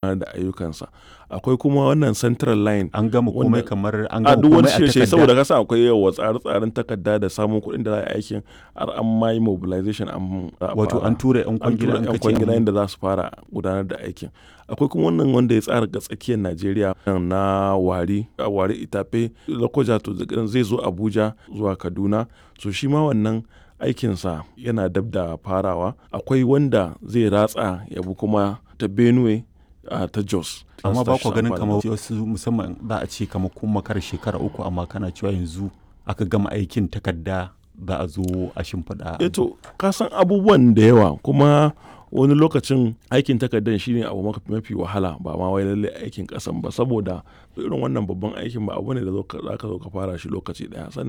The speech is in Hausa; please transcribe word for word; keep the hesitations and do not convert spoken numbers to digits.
Da ayyukansa. Akwai kuma wannan Central Line. An gama komai wanda kamar an a gama duk wani komai a shirye-shirye takarda. Saboda ka san akwai yawa tsare-tsaren takarda da samun kuɗin da za a yi aikin, har an ma yi mobilization, an za a Wato fara. an tura 'yan An kwangila tura an 'yan kace kwangila an yadda za su fara gudanar da aikin. Akwai kuma wannan wanda ya tsara ga tsakiyar Najeriya na Warri, Warri Itape, Lokoja, to zai zo Abuja zuwa Kaduna. So shi ma wannan aikinsa yana dab da farawa. Akwai wanda zai ratsa ya bi kuma ta Benue, a ta Jos. Amma ba kwa ganin Amfani. kamar wasu, musamman za a ce kamar kun makara shekara uku, amma kana cewa yanzu aka gama aikin takarda, za a zo a shimfiɗa. Eh to, ka san abubuwan da yawa, kuma wani lokacin aikin takardar shine abu mafi wahala, ba ma wai lallai aikin ƙasan ba, saboda irin wannan babban aikin ba abu ne da za ka zo ka fara shi lokaci ɗaya. Sannan